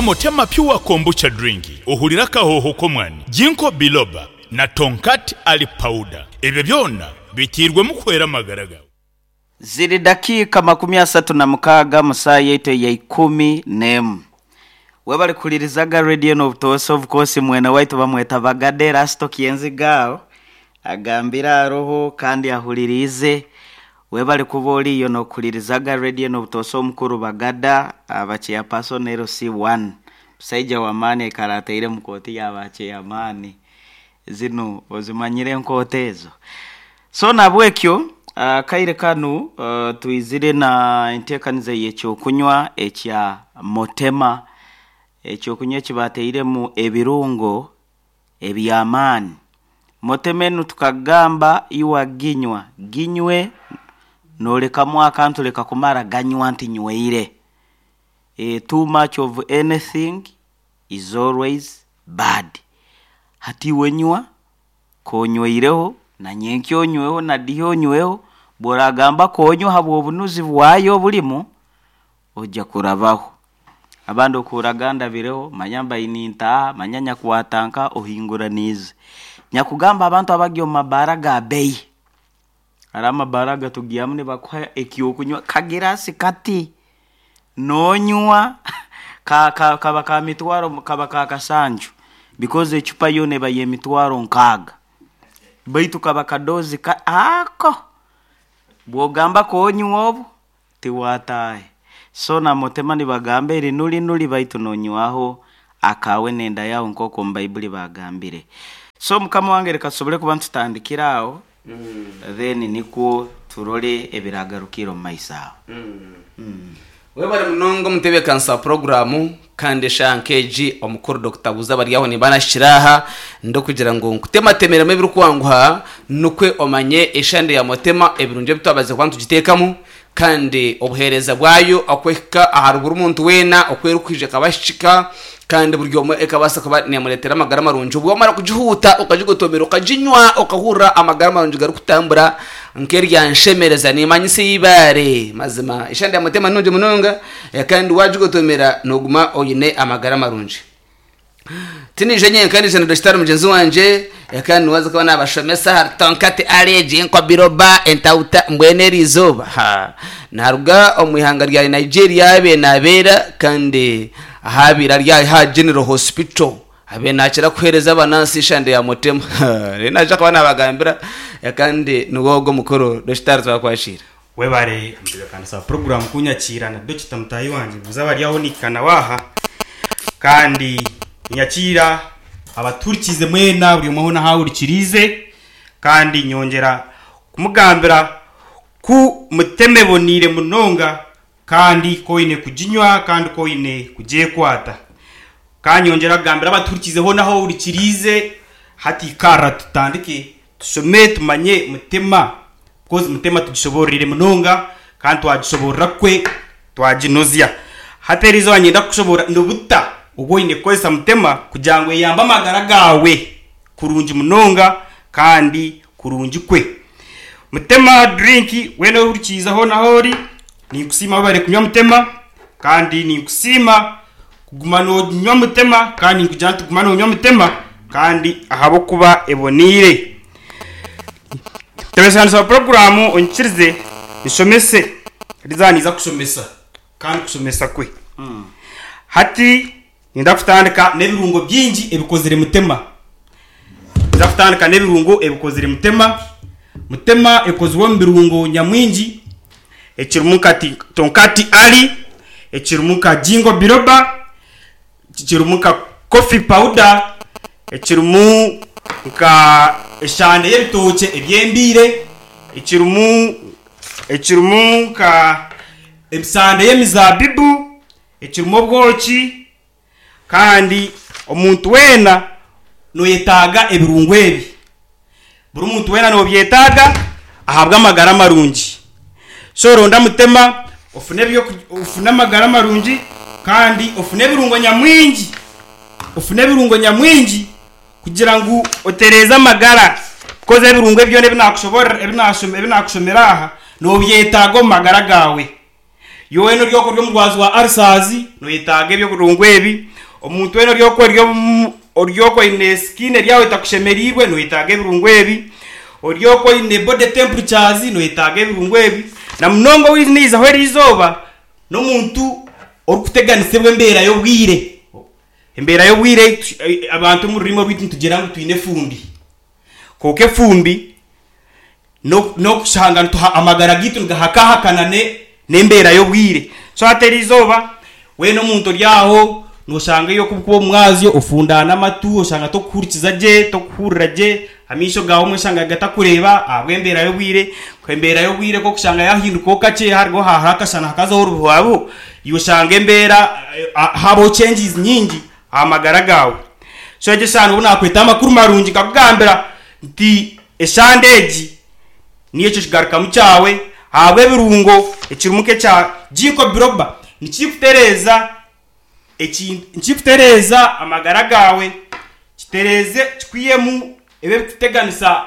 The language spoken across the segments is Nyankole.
Nywa Motema Pure Kombucha Drink ohurire akahooho k'omwani, Ginkgo Biloba na Tongkat Ali Powder. Ebyo byona biteirwemu kuhwera amagara gaawe. Ziri dakiika 36 mu saaha yaitu eya ikumi n'emu. Webale kuhuririzaga radio enu obutoosha of course mwene waitu bamweta Bagade Erasto Kyenziga aho agambire aroho kandi ahuririize. Webale kuba oriyo nokuhuririzaga radio enu obutoosha omukuru Bagada aba chairperson LC1 musaija w'amaani aikara ataire omu kooti ya ba chairman. Zinu ozimanyire enkooti ezo? So nahabwekyo akaire kanu twizire na enteekaniza ey'ekyokunywa ekya Motema, ekyokunywa eki batairemu ebirungo eby'amaani. Motema enu tukagamba iwe aginywa, ginywe noolekamu akantu leka kumara ganywa nti nyweire. Too much of anything is always bad. Hati iwe nywa K'onyweireho, na nyenkya onyweho, na dihi onyweho, bw'oragamba k'onywa habw'obunuzi bwayo oburimu, oja kurabaho. Abandi okuhurra gandabireho, manya mbaire nintaaha, manya nyakwata nka ohinguraniize. Nyakugamba abantu abari omu mabaara aga beeyi, hariho amabaara agatugiihamu nibakuha eky'okunywa kagiraasi kati, Noonywa ka ka kaba ka mitwaro kaba ka kasanju because ecupa yoona eba y'emitwaro nkaaga baitu kaba kadoozi ka ako bw'ogamba koonywa obwo tiwaataahe. So na Mutema nibagamba eri nuri nuri baitu noonywaho akaawe n'enda yaawe nk'oku omu Baibuli baagambire. So mukama wange reka tusobole kuba nitutandikira aho Then nikwo turore ebiragarukire omu maiso aho. Webare munonga omutebeekanisa wa puroguraamu kandi eshaaha nk'egi omukuru Dokita Buuza Baryaho nimba nahikire aha ndikugira ngu nkutematemeremu ebirikwanguha nikwo omanye eshande ya Motema ebirungi ebi twabazize kuba nitugiteekamu kandi obuheereza bwayo oku ehika ahari buri muntu weena oku erikwija ekabahikika kandi buri omwe ekabaasa kuba neemureetera amagara marungi. Obu wamara kugihuuta okagigotomera okaginywa okahurira amagara marungi garikutambura nk'eryanshemereza niimanyisa eibaare. Mazima eshande ya Mutema nungi munonga kandi waagigotomera nooguma oine amagara marungi. Tiniija nyenka niija na Dokitaari mugyenzi wangye kandi niwe aza kuba naabashomesa ahari Tonkati Allergy, Enkobiroba, Entauta mbwenu eri izooba ha naaruga omu ihanga rya Nigeria ahabaire naabeera kandi ahabaire ari aha General Hospital abaire naakira kuheereza abanansi eshande ya Mutema reero naija kuba naabagambira kandi niwe ogwo omukuru Dokitaari twakwakiira. Webare omutebekanisa wa puroguramu kunyakiira na Dokita mutaahi wangye buuza abari aho nihika nawe aha kandi ninyakiira abatuhurikiize mwena buri omwe hoona ahu ahurikiriize kandi nyongyera kumugambira ku mutema eboneire munonga kandi ku oine kuginywa kandi ku oine kugyekwata. Ka nyongyera kugambira abatuhurikiize hoona ahu ohurikiriize hati ikarra tutandike Tushome tumanye Mutema because Mutema tugishoboororeire munonga kandi twagishoboorora kwe twaginozya. Hati eriizooba niinyenda kukushoboorora ni buta obu oine kukozesa Mutema kugira ngu eyambe amagara gaawe kurungi munonga kandi kurungi kwe. Mutema drink weena ohurikiize hoona ahu ori, ninkusiima webare kunywa Mutema kandi ninkusiima Kuguma noonywa Mutema, kandi ninkugira nti guma noonywa Mutema, kandi ahabw'okuba eboneire. Ntebeekanisa wa puroguraamu onyikirize nshomese, rizaaha niiza kushomesa kandi kushomesa kwe. Hati niinyenda kutandika n'ebirungo bingi ebikozire Mutema. Ninza kutandika n'ebirungo ebikozire Mutema. Mutema ekozirwe omu birungo nyamwingi. Ekirimu nka tonkati ali, ekirimu nka jingo biroba, ekirimu nka coffee powder, ekirimu nka eshande y'ebitookye ebyembiire, ekirimu ekirimu nka emisande y'emizaabibu, ekirimu obwoki kandi omuntu weena noyetaaga ebirungo ebi. Buri muntu weena nobyetaaga ahabw'amagara marungi. So ronda mutema ofune ofune amagara marungi kandi ofune ebirungo nyamwingi, ofune ebirungo nyamwingi kugira ngu otereeze amagara because ebirungo ebi byona ebi nakushomera aha nobyetaaga omu magara gaawe. Iwe weena ori ori omurwazi wa ulcers noyetaaga eby'obirungo ebi. Omuntu weena ori okwe ori okwe oine skin eri aho etakushemereirwe noyetaaga ebirungo ebi. Ori okwe oine body temperatures noyetaaga ebirungo ebi. Na munonga ou naizaho eriizooba n'omuntu orikuteganisibwa embeera y'obwire. Embeera y'obwire abantu omu rurimi orwaitu nitugira ngu twine efumbi. Kwonka efumbi n'okushanga nituha amagara gaitu nigahakahakana n'embeera y'obwire. So hati eriizooba weena omuntu ori aho nooshanga iwe ku orikuba omu mwazyo ofundaana amatu, oshanga torikuhurikiza gye, torikuhurira gye, amaisho gaawe obumwe oshanga gatakureeba ahabw'embeera y'obwire. Embeera y'obwire ku orikushanga yaahindukaho kakye hariho haaruho akashana hakazaho orubuhabuho, iwe oshanga embeera haabaho changes nyingi aha magara gaawe. So egyo eshaaha nobu naakweta amakuru marungi nkakugambira nti eshande egi niyo ekyo kigarukamu kyawe ahabw'ebirungo ekirimu nk'ekya Ginkgo biloba nikikutereeza ekintu nikikutereeza amagara gaawe, kitereeze kikwihemu ebi ebirikukuteganisa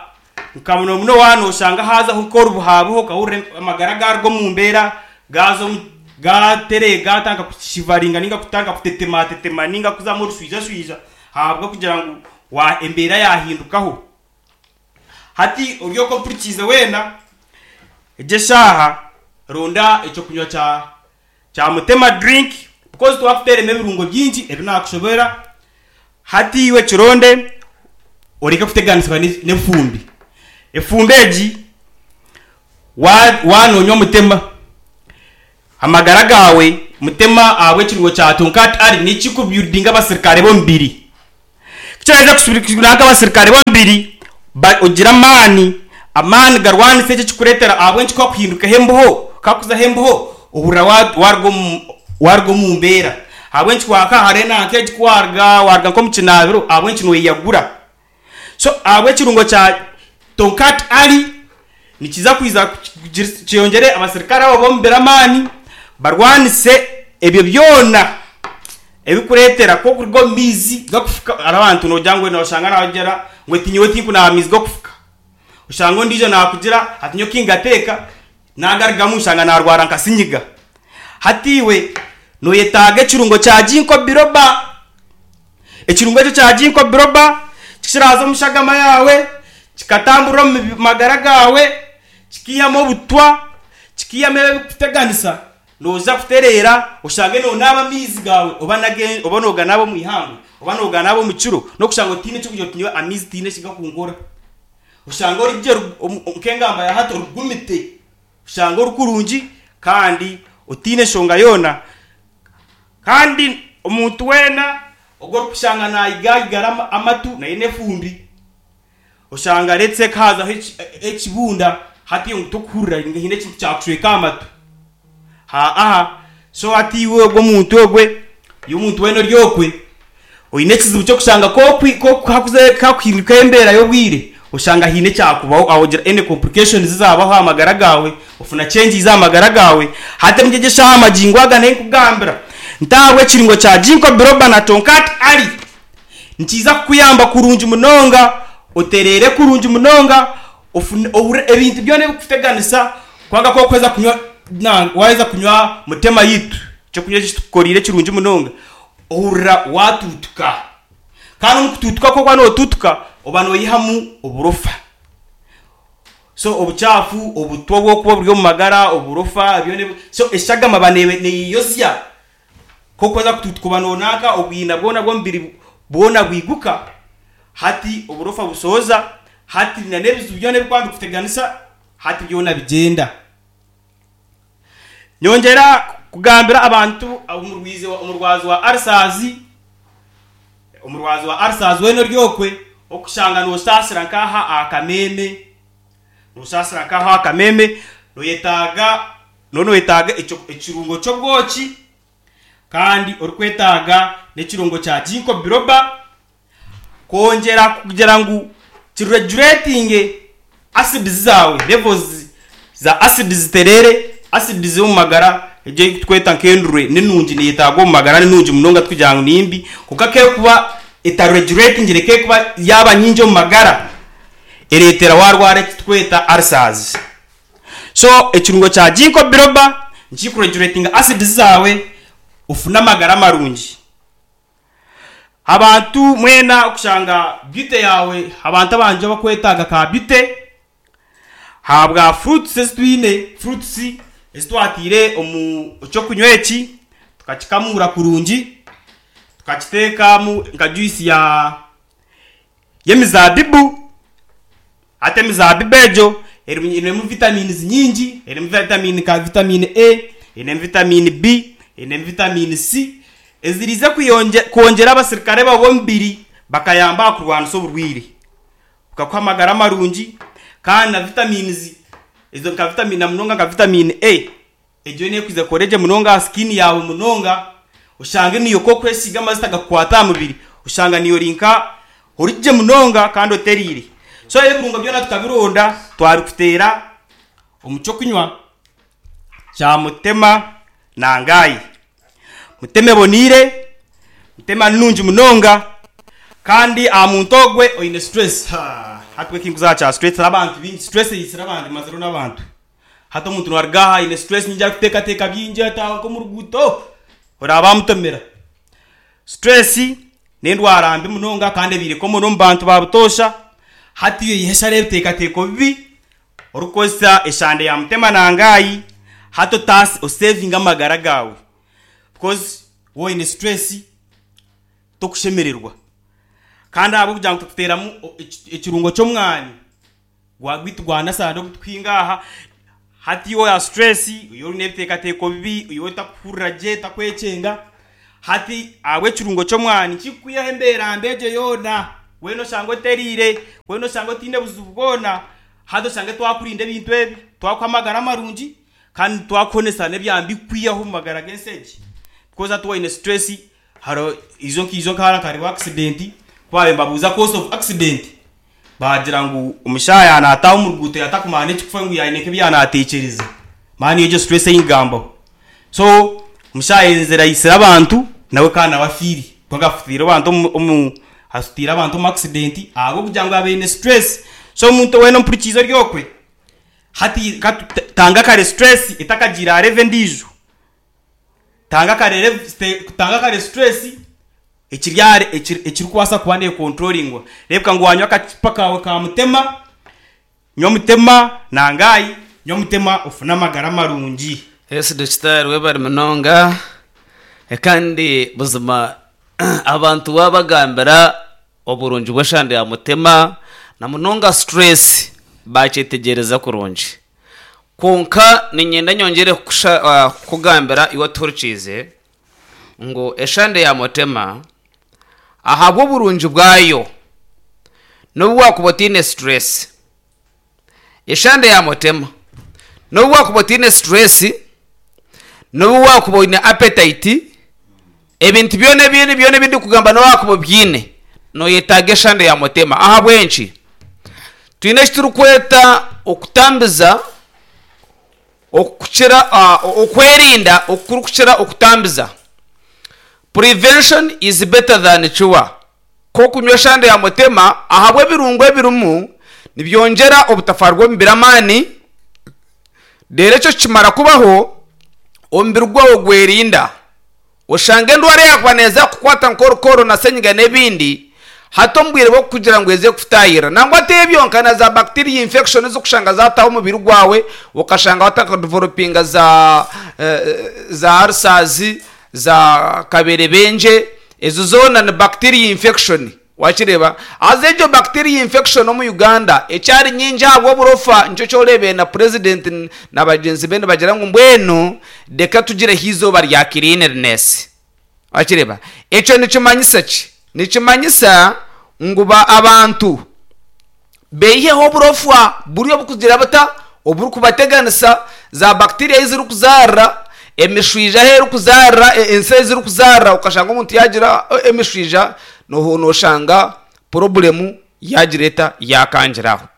nka muno muno waaba nooshanga haazaho nk'orubuhabuha okahurira amagara gaaruga omu mbeera gaaza omu gaatereera gaatandika kushivaringa nainga kutandika kutetematetema nainga kuzamu orushwijashwija ahabw'okugira ngu wa embeera yaahindukaho. Hati ori okwo ompurikiize weena, egi eshaaha ronda eky'okunywa kya kya Mutema drink because twakuteeremu ebirungo bingi ebi naakushobera. Hati iwe kironde oreke kuteganisibwa n'efumbi. Efumbi egi wa waanoonywa Mutema, amagara gaawe Mutema ahabw'ekirungo kya Tonkat Ali nikikubuildinga abasirikare b'omubiri. Ku kiraheza kushubirika abasirikare b'omubiri, ogira amaani, amaani garwanisa ekyo ekikureetera ahabw'enki ku hakuhindukaho embeho, ku hakuzaho embeho ohurira waruga omu waruga omu mbeera. Ahabw'enki waaka hare nanka egi ku waruga waruga nk'omu kinaabiro ahabw'enki noyeyagura. So ahabw'ekirungo kya Tonkat Ali nikiza kwiza kyongyere abasirikare abo b'omubiri amaani barwanise ebyo byona. Ebikureetera ku okuruga omu maizi gakufuka hariho abantu noogira ngu nooshanga naagira ngu eti nyowe tinkunaaba maizi g'okufuka. Oshanga ondiijo naakugira ati nyowe kingateeka naagarugamu nshanga naarwara nka sinyiga. Hati iwe nooyetaaga ekirungo kya Ginkgo biloba. Ekirungo ekyo kya Ginkgo biloba tikiraaza omu shagama yaawe, kikatamburira omu magara gaawe, kikiihamu obutwa, kikiihamu ebi ebirikukuteganisa. Nooza kutereera oshange noonaaba amaizi gaawe oba n'age oba nooganaaba omu ihangwe oba nooganaaba omu kiro n'okushanga otaine eky'okugira oti nyowe amaizi tihaine eki gakunkora. Oshange ori gye nk'engamba ya hati origumite, oshange ori kurungi kandi otaine nshonga yoona. Kandi omuntu weena ogu orikushanga naayigayigara amatu nayo n'efumbi. Oshanga let's say hazaho ekibunda hati ngu tokuhurira ngu haine ekintu kyakushweka aha matu haa so hati iwe ogwo omuntu ogwe iwe omuntu weena ori okwe oine ekizibu ky'okushanga hakuhindukaho embeera y'obwire oshanga haine ekyakubaho aho ogira any complications ezaabaho aha magara gaawe ofuna changes aha magara gaawe hati omuri egi eshaaha magingo aga ninkugambira nti ahabw'ekiringo kya Ginkgo biloba na Tonkat Ali. Nikiija kukuyamba kurungi munonga otereere kurungi munonga ofune ohurire ebintu byona ebirikukuteganisa kwonka ku orikuheza kunywa na waaheza kunywa mutema yaitu ekyokunywa eki tukukoriire ekirungi munonga ohurira waatuutuka. Kandi omu kutuutuka ku orikuba nootuutuka oba noihamu oburofa. So obucaafu, obutwa oburikuba buri omu magara, oburofa byona ebi so eshagama eba neeyeyozya. Nk'oku waza kutuutuka noonanka obwina bwona bw'omubiri bwona bwiguka, hati oburofa busooza, hati n'ebizibu byona ebirikuba nibikuteganisa hati byona bigyenda. Nyongyera kugambira abantu omurwazi wa ulcers, omurwazi wa ulcers weena ori okwe, orikushanga noosaasira nk'aha aha kameeme, noosaasira nk'aha aha kameeme, nooyetaaga Nooba noyetaaga ekirungo ky'obwoki kandi orikwetaaga n'ekirungo kya Ginkgo biloba kwongyera kugira ngu kireguretinge acids zaawe, levels za acids zitereere, acids omu magara egyo ei turikweta nk'endurwe ni nungi neyetaagwa omu magara ni nungi munonga tikugira ngu ni mbi kwonka ku erikuba etareguretingire ku erikuba yaaba nyingi omu magara ereetera waarwara eki turikweta ulcers. So ekirungo kya Ginkgo biloba nikikuregulatinga acids zaawe ofune amagara marungi. Abantu mwena okushanga beauty yaawe abantu abangye abakwetaaga ka beauty ahabwa fruits ezi twine, fruits ezi twataire omu ky'okunywa eki tukakikamuura kurungi tukakiteekamu nka juice ya y'emizaabibu. Hati emizaabibu egyo erimu einemu vitamins nyingi, erimu vitamini nka vitamini A, einemu vitamini B, einemu vitamini C, eziriize kwongyera abasirikare baawe b'omubiri bakayamba aha kurwanisa oburwaire. Bukakuha amagara marungi kandi na vitamins ezo nka vitamini na munonga nka vitamini A, Egyo nekwija kukora gye munonga aha skin yaawe munonga oshange niiwe ku okwesiiga amajuta gakukwata aha mubiri oshanga niiwe ori nka ori gye munonga kandi otereire. So ebirungo byona tukabironda twabikuteera omu ky'okunywa kya Mutema Nangayi. Mutema eboneire, Mutema nungi munonga kandi aha muntu ogwe oine stress, hati bwe kinkuza aha kya stress abantu baingi stress eitsire abantu emazireho n'abantu. Hati omuntu naruga aha aine stress nyingi arikuteekateeka bingi ataaha nk'omu ruguuto oraaba wamutomera. Stress n'endwara mbi munonga kandi ebaire common omu bantu ba butoosha. Hati oihe eshara ebiteekateeko bibi orikukozesa eshande ya mutema nangaayi hati otaase osevinge amagara gaawe because waaba oine stress tokushemererwa kandi ahabw'okugira ngu tukuteeramu ekirungo ky'omwani. Gwa gwaitu gwa nasara ogu tukuhinga aha. Hati iwe oya stress, iwe oine ebiteekateeko bibi, iwe otakuhurira gye, otakwekyenga, hati ahabw'ekirungo ky'omwani kikukwihaho embeera mbi egyo yoona, weena oshange otereire, weena oshange otaine buzibu bwona, hati oshange twakurinda ebintu ebi, twakuha amagara marungi kandi twakuhonesa n'ebyambi kukwihaho omu magara g'ensi egi. Because hati waaba oine stress, hariho ijo nkaijo nkahara hariho accident, ku baabaire nibabuuza cause of accident, Baagira ngu omushaija yaaba naataaha omu ruguuto yaatakumanya n'ekikufa ngu yaine nk'ebi yaaba naatekyereza. Manya niyo egyo stress ei nkugambaho. So omushaija ayenzire aitsire abantu nawe kandi nawe afiire. Kwonka afutiire abantu omu omu asutiire abantu omu accident ahabw'okugira ngu abaire aine stress. So omuntu weena ompurikiize ori okwe, hati ka tanga kare stress etakagiire aha level endiijo. Tanga kare tanga kare stress ekiri ahari ekirikubaasa kuba nekontroringwa. Reebeka ngu wanywa akacupa kaawe ka mutema, nywa mutema nangaayi, nywa mutema ofune amagara marungi. Yes Dokitaari webare munonga kandi buzima abantu wabagambira oburungi bw'eshande ya mutema na munonga stress bakyetegyereza kurungi. Kwonka niinyenda nyongyere kukugambira iwe otuhurikiize ngu eshande ya Mutema ahabw'oburungi bwayo n'obu waakuba otaine stress, eshande ya Mutema n'obu waakuba otaine stress, n'obu waakuba oine appetite, ebintu byona ebindi byona ebi ndikugamba n'obu waakuba obiine, nooyetaaga eshande ya Mutema. Ahabw'enki? Twine eki turikweta okutambiza okukira okwerinda okurikukira okutambiza. Prevention is better than cure. Nk'okunywa eshande ya mutema ahabw'ebirungo ebirimu nibyongyera obutafaari bw'omubiri amaani, reero ekyo kikimara kubaho omubiri gwawe gwerinda. Oshanga endwara eyaakuba neeza kukukwata nk'orukooro na senyiga n'ebindi, hati omu bwire bw'okukugira ngu eze kukutaahirira. Nangwa ti ebyo nka na za bacteria infection ez'okushanga zaataaha omubiri gwawe, okashanga watandika kudevelopinga za za ulcers, za kaberebengye, ezo zoona ni bacteria infection. Wakireeba? Haza egyo bacteria infection omu Uganda ekyari nyingi ahabw'oburofa nikyo kyoreebire na president na bagyenzi be nibagira ngu mbwenu reka tugireho eizooba rya cleanliness. Wakireeba? Ekyo nikimanyisa ki? Nikimanyisa ngu ba abantu beiheho oburofwa buri obukugira buta? Oburikubateganisa, za bacteria ahu zirikuzaarira, emishwija ahu erikuzaarira, ensi ahu zirikuzaarira okashanga omuntu yaagira emishwija nooshanga purobulemu yaagira eta? Yaakangira aho.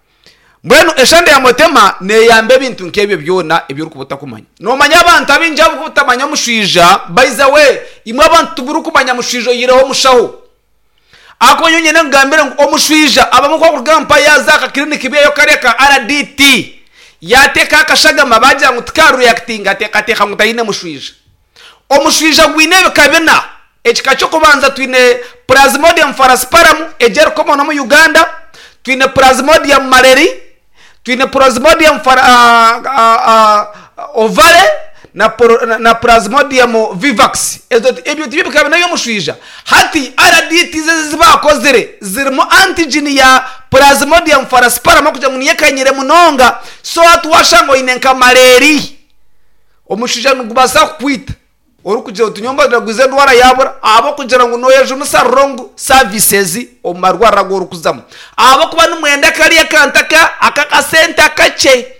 Mbwenu eshande ya mutema neeyamba ebintu nk'ebyo byona ebi orikuba otakumanya. Noomanya abantu abaingi abu obutamanya omushwija, by the way, imwe abantu timurikumanya mushwija oihireho omushaho. Ahakuba nyowe nyenda nkugambire ngu omushwija abamwe ku barikuruga mpa yaaza aha kakiriniki beeyo kariya ka RDT yaateekaho akashagama baagira ngu tikarureyakitinga ateekateeka ngu taine mushwija. Omushwija gwine ebika bina. Ekika ky'okubanza twine. Plasmodium falciparum egyo eri common omu Uganda, twine Plasmodium malariae, twine Plasmodium ovale na Plasmodium vivax. Ezo ebyo tibyo bikaba n'eby'omushwija. Hati RDTs ezi ezi baakozire zirimu antigen ya Plasmodium falciparum okugira ngu niyo ekanyire munonga. So hati waashanga oine nka malaria, omushwija nigubaasa kukwita. Orikugira oti nyowe mbaragwize endwara yaabura ahabw'okugira ngu nooyejunisa wrong services omu marwariro agu orikuzamu ahabw'okuba nimwenda kariya kantu aka ak'akasente akakye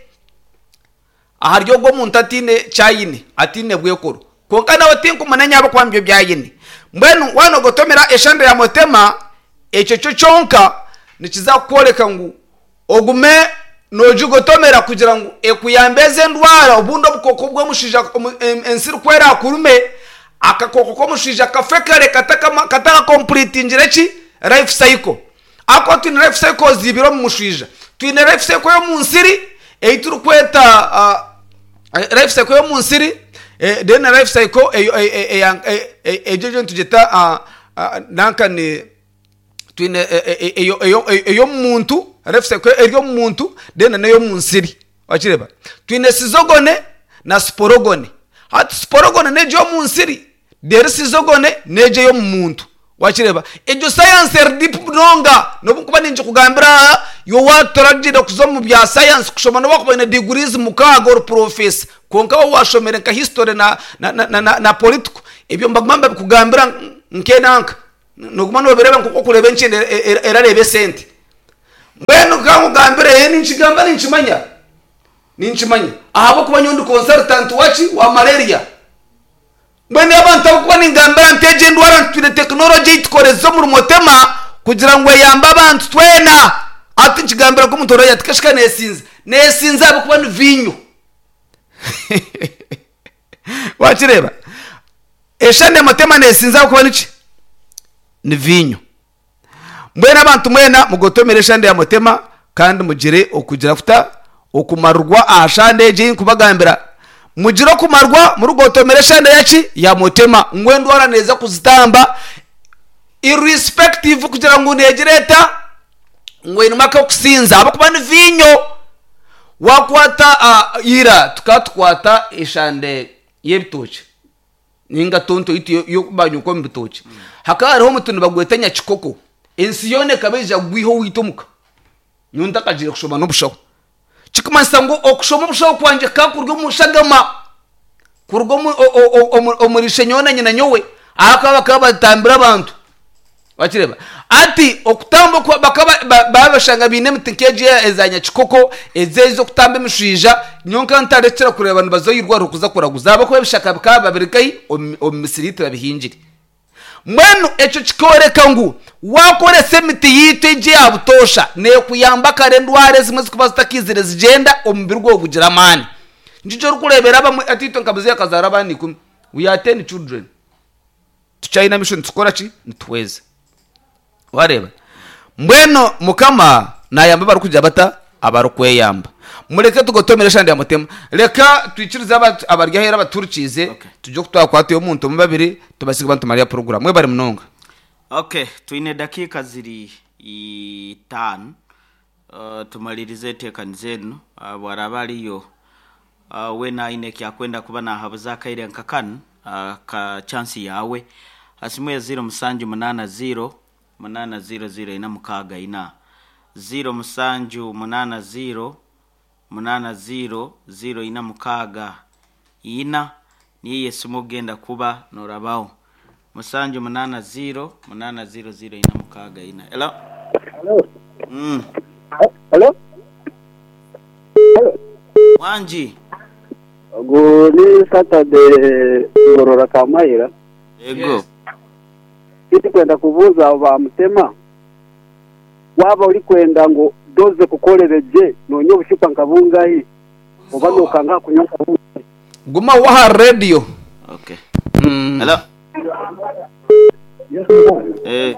ahari ogwo omuntu ataine ki aine, ataine bwekoro. Kwonka nawe tinkumunenya ahabw'okuba nibyo ebi aine. Mbwenu waaba noogotomera eshande ya Mutema, ekyo kyo kyonka nikiza kukworeka ngu Ogume noogigotomera kugira ngu ekuyambe ezi endwara obundi obukooko bw'omushaija ensiri ku eraakurume, akakooko k'omushaija kafe kare katakakompuritingire ki? Life cycle. Ahabw'okuba twine life cycles ibiri omu mushaija. Twine life cycle y'omu nsiri ei turikweta life cycle y'omu nsiri then na life cycle egyo nitugyeta nanka ni. Twine ey'omu muntu, life cycle eri omu muntu then n'ey'omu nsiri. Wakireeba? Twine sizogone na siporogone. Hati siporogone n'egyo ey'omu nsiri, reero sizogone n'egyo ey'omu muntu. Wakireeba? Egyo sayansi eri deep munonga n'obu nkuba ningikugambira aha, iwe waaturagiire kuza omu bya sayansi kushoma n'obu wakuba oine degrees mukaaga ori purofesa, kwonka waaba waashomire nka history na political, ebyo nibaguma nibabikugambira nk'enanka. Nooguma noobireeba nk'oku orikureeba enkyende erareeba esente. Mbwenu ka nkugambire, ee ninkigamba ninkimanya, ninkimanya ahabw'okuba nyowe ndi consultant waki? Wa malaria. Mbwenu abantu abu ningambira nti egi endwara twine tekinologi ei tukoreza omuri Motema kugira ngu eyambe abantu twena. Hati nkigambira nk'omuntu oraagira ati kashika neesinza, neesinza ahabw'okuba ni viinyo. Wakireeba? Eshande Motema neesinza ahabw'okuba niki? Ni viinyo. Mbwenu abantu mwena mugotomere eshande ya Motema kandi mugire okugira kuta? Okumarwa aha shande egi ei nkubagambira. Mugire okumarwa murikugotomera eshande yaki? Ya Motema. Ngu endwara neeza kuzitamba irrespective kugira ngu neegira eta? Ngu einemu ak'okusinza ahabw'okuba ni viinyo. Waakwata ira tukaba tukwata eshande y'ebitookye ninga tonto yaitu y'okubanyuka omu bitookye hakaba hariho omuti nibagweta nyakikoko ensi yoona ekaba eija kugwiha owaitu omuka nyowe ntakagiire kushoma n'obushaho kikumanyisa ngu okushoma obushaho kwangye kukaba kuri omu shagama kuruga omuri ishe nyowe na nyina nyowe ahakuba bakaba batambira abantu. Wakireeba? Hati okutamba oku bakaba babashanga baine emiti nk'egi eza nyakikoko, ezi ez'okutamba emishwija, nyowe nkaba ntarekire kureeba nibaza omu irwariro kuza kuraguza ahabw'okuba ebishaka bikaba biba biri nkahi? Omu misiri yaitu babihingire. Mbwenu ekyo kikooreka ngu waakoresa emiti yaitu egi eya butoosha, neekuyamba kare endwara ezimwe ezirikuba zitakaizire zigyenda, omubiri gwawe gugira amaani. Nikyo orikureebera abamwe, hati itwe nka muzeeyi akazaara abaana ikumi, we are ten children. Tukyayine amaisho nitukora ki? Nituhweza. Wareeba? Mbwenu Mukama naayamba abarikugira bata? Abarikweyamba. Mureke tugotomere eshande ya Mutema. Reka twikirize abari aheeru abatuhurikiize, Okay. tugye oku twakwatayo omuntu omwe babiri, tubaase kuba nitumara ya puroguraamu. Mwebare munonga. Okay, twine edakiika ziri itaano tumalirize enteekaniza enu. Bwaraba ariyo weena aine eki akwenda kuba nahabuza akaire nka kanu, ka chance yaawe. Ha simu ya ziiro musanju munaana ziiro, munaana ziiro ziiro ina mukaaga ina. Ziiro musanju munaana ziiro, munaana ziiro ziiro ina mukaaga ina, niyo eyo esimu okugenda kuba norabaho. Musanju munaana ziiro, munaana ziiro ziiro ina mukaaga ina. Hello? Hello. Hello. Hello. Wangi. Ogu ni Saturday Ngorora Kamayira. Yego. Tindikwenda kubuuza abo ba Mutema, waaba orikwenda ngu doze kukorere gye noonywa obucupa nka bungahi oba nookanga aha kunywa nka bungahi? Guma waha rediyo. Okay. Hello. Eh.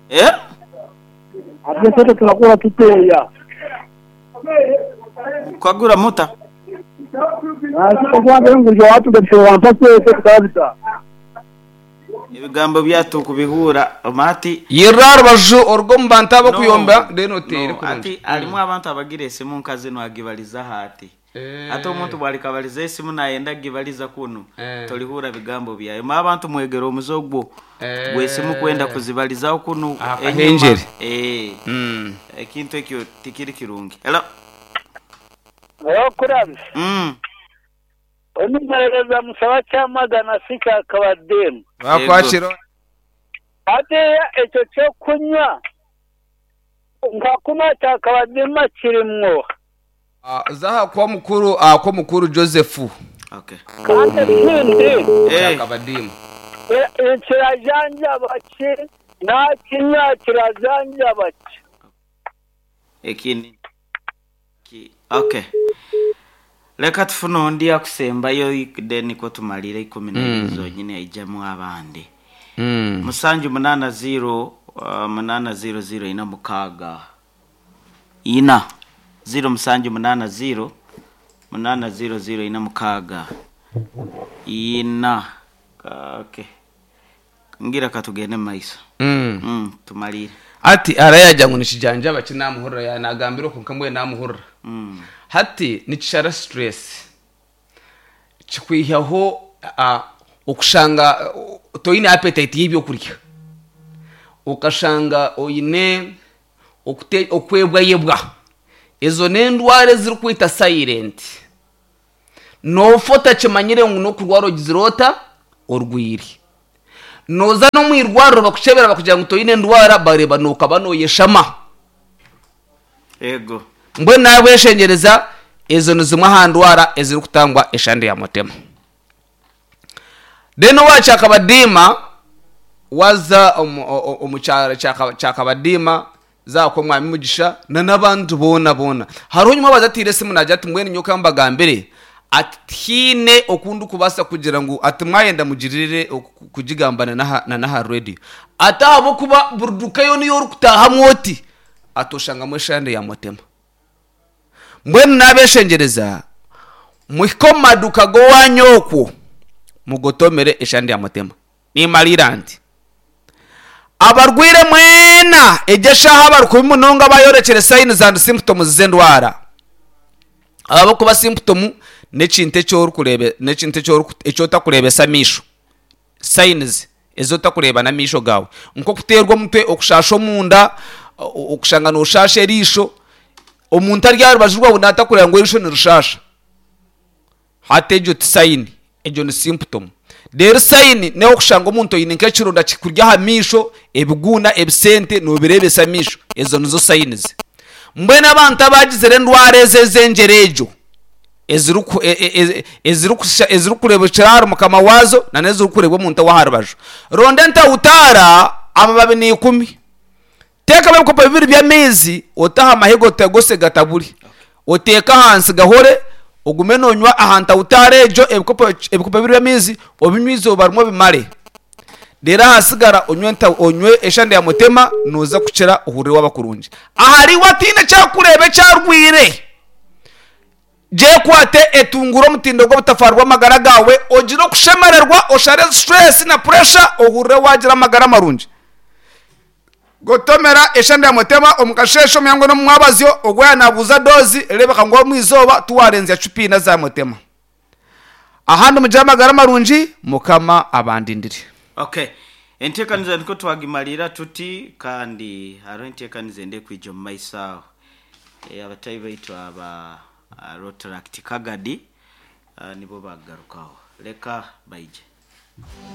Eh? Kwagura muta? Ebigambo byatu kubihuura ati Yirira aha rubaju oruge omu bantu ab'okuyomba then oteere no, kurungi. ati harimu abantu abagira esimu nka zinu agibalizaho ati. Ati omuntu bwalikabaliza esimu nayenda kugibaliza kunu tolihuura bigambo byayo. Ma abantu mwegere omuze ogwo gw'esimu kwenda kuzibalizaho kunu Aha enyuma. kahengyere. Ekintu ekyo tikiri kirungi. Hello. Hello Kurabis. Onu muheereza musaba kyamagana si kya Kabadimu. Bakwakira. Hatiiya ekyo ky'okunywa nka kuna kya Kabadima kirimwo. Za aha kwa mukuru aha kwa mukuru Joseph. Okay. Kandi ekindi. Kya Kabadimu. Kirajanjaba ki? Naakinywa kirajanjaba ki? Ekindi ki okay. Leka tufune ondi akusembayo then nikwo tumalire eikumi naibiri zonyini aijamu abandi. Musanju munaana ziiro munaana ziiro ziiro ina mukaaga ina ziiro musanju munaana ziiro munaana ziiro ziiro ina mukaaga ina okay. Ngira katugende mu maiso. Tumalire. Hati arayagira ngu nikijanjaba ki namuhurira yanagambira okwo nka mbwenu namuhurira. Hati nikishara stress kikwihaho okushanga toine appetite y'ebyokurya okashanga oine okwebwayebwa ezo n'endwara ezirikwita silent noofa otakimanyire ngu n'okurwara ogizire ota orwire nooza n'omu irwariro bakukyebera bakugira ngu toine ndwara bareeba nookaba nooyeshama. Ego. Mbwenu naabweshengyereza ezo ni zimwe aha ndwara ezirikutangwa eshande ya mutema. Then owa Kyakabadiima waza omu kyaro Kyakabadiima za kwa Mwami Mugisha na n'abandi boona boona. Hariho nyuma waza atiire esimu naagira ati mbwenu nyowe ka mbagambire ati tihaine oku ndikubaasa kugira ngu ati mwayenda mugirire kugigamba na n'aha radio. Ati ahabw'okuba buri duka yoona ei orikutaahamu oti ati oshangamu eshande ya mutema. Mbwenu naabeshengyereza muhike omu maduuka g'owaanyu okwo mugotomere eshande ya mutema. Nimariira nti, Abarwaire mwena egyo eshaaha abari kubi munonga abayorekire signs and symptoms z'endwara. Ahabw'okuba symptom n'ekintu eki orikureebe n'ekintu eki oriku eki otakureebesa amaisho. Signs ezi otakureeba n'amaisho gaawe. Nk'okuteerwa omutwe, okushaasha omunda, okushanga nooshaasha eriisho. Omuntu ari aha rubaju rwawe naatakureeba ngu eriisho nirishaasha. Hati egyo ti sayini, egyo ni symptom. Reero sayini n'ey'okushanga omuntu oine nk'ekironda kikuri aha maisho, ebiguuna, ebisente noobireebesa amaisho. Ezo nizo sayinizi. Mbwenu abantu abaagizire endwara ezo ez'engyera egyo, ezirikureebekyera ahari mukama waazo na n'ezirikureebwa omuntu ow'aha rubaju. Ronda entawutaara amababi n'ikumi. Teekamu ebikopo bibiri by'amaizi ote aha mahega otagose gatabure. Oteeke ahansi gahore, ogume noonywa aha ntawutaara egyo ebikopo ebikopo bibiri by'amaizi obinywe eizooba rimwe obimare. Reero ahasigara onywe onywe eshande ya mutema nooza kukira ohurire waaba kurungi. Ahariiwe ataine eki arikureeba eki arwaire. Gyekwate etunguure omutindo gw'obutafaari bw'amagara gaawe, ogire okushemererwa, oshare stress na pressure ohurire waagira amagara marungi. Gotomera eshande ya mutema omu kasheeshe, omu ihangwe n'omu mwabazyo, ogwo yaaba naabuuza doozi, reebeka ngu omu izooba tiwaarenzya cupa ina za mutema. Ahandi mugire amagara marungi, Mukama abandindire. Okay. Enteekaniza nikwo twagimariira tuti kandi hariho enteekaniza endi erikwija omu maiso aho. Abatahi baitu aba Rotaract Kagadi nibo bakugarukaho. Reka baije.